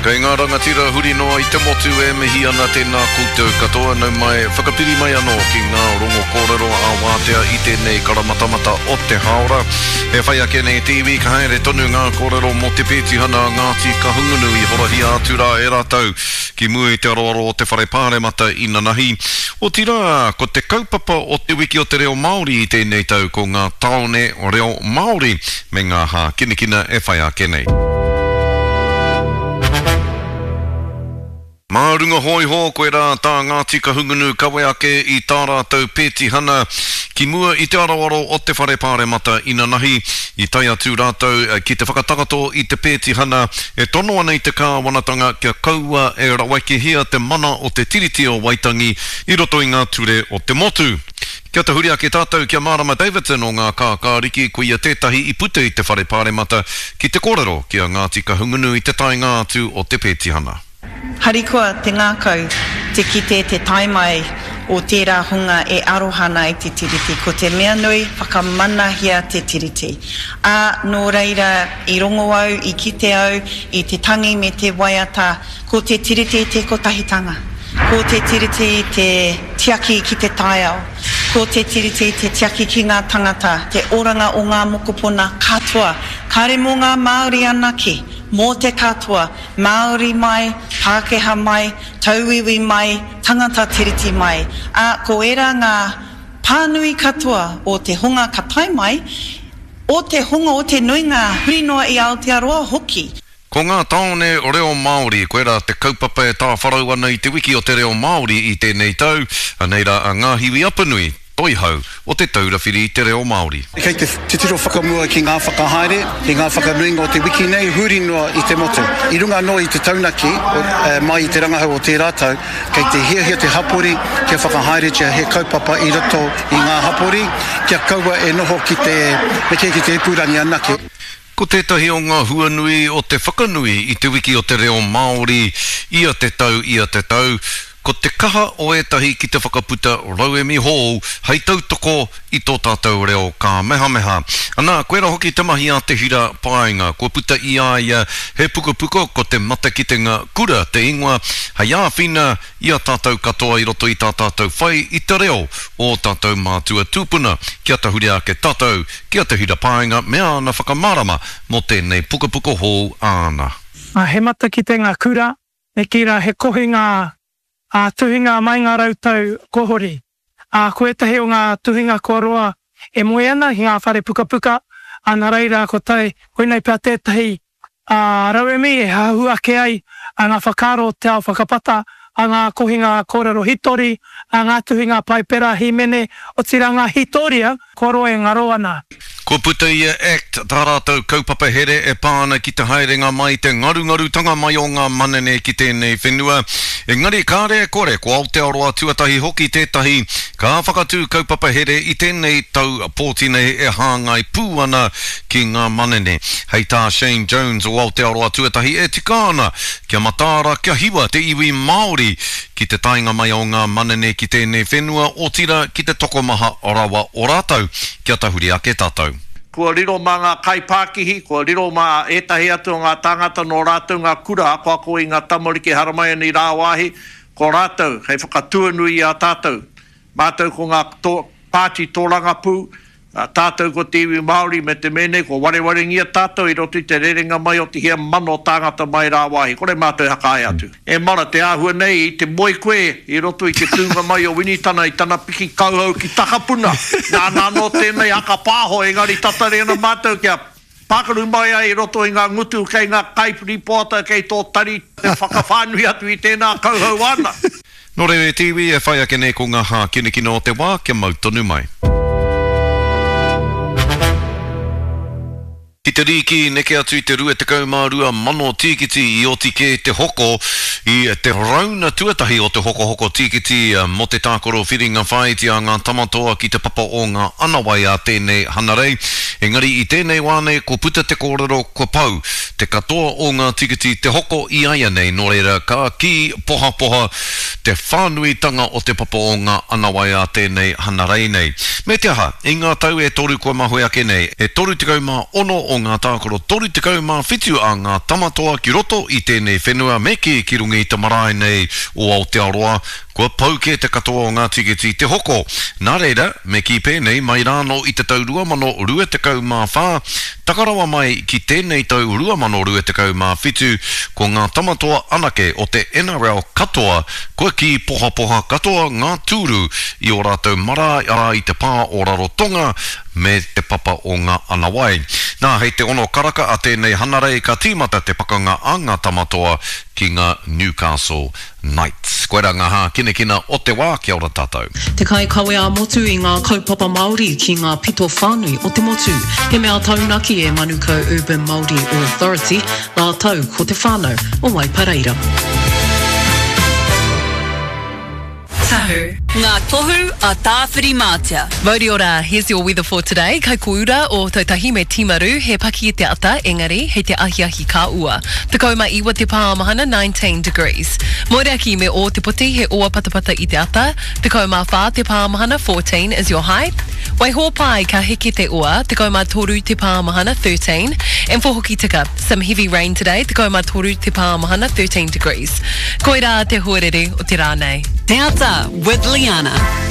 Kei ngā rangatira huri noa i te motu e mihi ana tēnā koutou katoa, nau mai, whakapiri mai anō ki ngā rongo kōrero ā-wātea i tēnei karamatamata o te hāora. E whai ake nei te iwi, ka haere tonu ngā kōrero mō te pētihana a Ngāti Kahungunu i horahia atu rā e rātou ki mua i te aroaro o te Whare Pāremata inanahi. Otirā, ko te kaupapa o Te Wiki o te Reo Māori i tēnei tau ko ngā tāone reo Māori me ngā hākinakina e whai ake nei. Mā runga hōiho, koirā tā Ngāti Kahungunu kawe ake i tā rātou pētihana ki mua i te aroaro o te Whare Pāremata inanahi. I tae atu rātou ki te whakatakoto i te pētihana e tono ana i te kāwanatanga kia kaua e rawekehia te mana o te Tiriti o Waitangi i roto i ngā ture o te motu. Kia tahuri ake tātou ki a Marama Davidson o Ngā Kākāriki, ko ia tētahi i puta i te Whare Pāremata ki te kōrero ki a Ngāti Kahungunu i te taenga atu o te pētihana. Harikoa te ngākau te kite te tae mai o tērā hunga e aroha ana i te Tiriti. Ko te mea nui, whakamanahia te Tiriti. Ā, nō reira, i rongo au, i kite au i te tangi me te waiata, Ko te Tiriti te kotahitanga. Ko te Tiriti te tiaki ki te taiao. Ko te Tiriti te tiaki ki ngā tangata, te oranga o ngā mokopona katoa. Kāre mō ngā Māori anake, mō te katoa, Māori mai, Pākehā mai, tauiwi mai, tangata Tiriti mai. Ā, ko ērā ngā pānui katoa o te hunga ka tae mai, o te hunga o te nuinga huri noa i Aotearoa hoki. Ko ngā tāone reo Māori, koirā te kaupapa e tāwharau ana i te wiki o te reo Māori i tēnei tau, anei rā a Ngāhiwi Apanui, Toihau o Te Taura Whiri i te Reo Māori. Kei te titiro whakamua ki ngā whakahaere, ki ngā whakanuinga o te wiki nei huri noa i te motu. I runga anō i te taunaki mai i te rangahau o tērā tau, kei te hiahia te hapori kia whakahaeretia he kaupapa i roto i ngā hapori, kia kaua e noho ki te, me kī ki te ipurangi anake. Ko tētahi o ngā huanui o te whakanui i Te Wiki o te Reo Māori ia te tau ia te tau, ko te kaha o ētahi ki te whakaputa rauemi hou hei tautoko i tō tātou reo kāmehameha. Anā, koirā hoki te mahi a Te Hira Paenga, kua puta i a ia he pukapuka ko Te Matakitenga Kura te ingoa, hei āwhina i a tātou katoa i roto i tā tātou whai i te reo o ō tātou mātua tūpuna, kia tahuri ake tātou Ki a Te Hira Paenga me āna whakamārama mō tēnei pukapuka hou āna. He matakitenga kura, me kī rā he kohinga ā-tuhinga mai ngā rautau kua hori. Ā, ko ētahi o ngā tuhinga kua roa e moe ana ki ngā whare pukapuka, ā, nā reira ko tae, koinei pea tētahi ā, rauemi e hahu ake ai ngā whakaaro o te ao whakapata, a ngā kohinga kōrero hitori, a ngā tuhinga Paipera, hīmene, otirā ngā hītoria kua roa e ngaro ana. Kua puta i a act tā rātou kaupapa here e pā ana ki te haerenga mai, te ngarungarutanga mai o ngā manene ki tēnei whenua. Engari kāre e kore, ko Aotearoa tuatahi hoki tētahi ka whakatū kaupapa here i tēnei tau pōti nei e hāngai pū ana ki ngā manene. Hei tā Shane Jones o Aotearoa Tuatahi e tika ana kia mataara kia hiwa te iwi Māori ki te taenga mai o ngā manene ki tēnei whenua otira ki te tokomaha rawa o rātou kia tahuri ake tātou. Kua riro mā ngā kaipākihi, kua riro mā ētahi atu o ngā tāngata nō rātou ngā kura akoako i ngā tamariki haramai ana i rāwāhi, ko rātou hei whakatuanui i a tātou. Mātou ko ngā pāti tōrangapū, Tātou ko te iwi Māori me te mea nei kua warewarengia tātou i roto i te rerenga mai o te hia mano tāngata mai rāwāhi, kore mātou e hakaae atu. E mara, te āhua nei i te moe koe i roto i te tūnga mai o Winitana i tana piki kauhau ki Takapuna. Nāna anō tēnei haka pāho engari tatari ana mātou kia Pākaru mai ai i roto i ngā ngutu kei ngā kaipiripoata kei tō tari te whakawhānui atu i tēnā kauhau āna. Nō reira e te iwi, e whai ake nei ko ngā hākinakina o te wā kia mau tonu mai. Ki te rīki, neke atu i te 22 mano tīkiti i oti kē te hoko i te rauna tuatahi o te hokohoko tīkiti mō te tākaro whiringa whāiti a ngā Tamatoa ki te papa o ngā Anawai a tēnei Hanarei. Engari i tēnei wā nei kua puta te kōrero kua pau te katoa o ngā tikiti te hoko i aianei nō reira ka kī pohapoha te whānuitanga o te papa o ngā anawai a tēnei hanarei nei. Me te aha, i ngā tau e toru kua mahue ake nei, e 36 o o ngā tākaro 37 a ngā Tamatoa ki roto i tēnei whenua me kī ki runga i te marae nei o Aotearoa, kua pau kē te katoa o ngā tiketi te hoko. Nā reira, me kī pēnei, mai rānō i te tau 2024, taka rawa mai ki tēnei tau 2027, ko ngā Tamatoa anake o te NRL katoa kua kī pohapoha katoa ngā tūru i ō rātou marae, arā i te pā o Rarotonga me te papa o ngā Anawai. Nā, hei te ono karaka a tēnei Hanarei ka tīmata te pakanga a ngā Tamatoa ki ngā Newcastle Knights. Koirā ngā hākinakina o te wā, kia ora tātou. Te kaikawe ā-motu i ngā kaupapa Māori ki ngā pito whānui o te motu. He mea taunaki e Manukau Urban Māori Authority rātou ko te whānau o Waipareira. Tahu. Ngā tohu a Tāwhirimātea. Mauri ora, here's your weather for today. Kai koura o Tautahi me Timaru, he paki i te ata, engari hei te ahiahi ka ua. 19 te pāmahana, 19 degrees. Moeraki me Ōtepoti, he ua patapata i te ata, 14 te pāmahana, 14 is your high. Waihōpai, ka heke te ua, 13 te pāmahana, 13. And for Hokitika, some heavy rain today, 13 te pāmahana, 13 degrees. Koirā te huarere o te rā nei. Te Ata with Liana.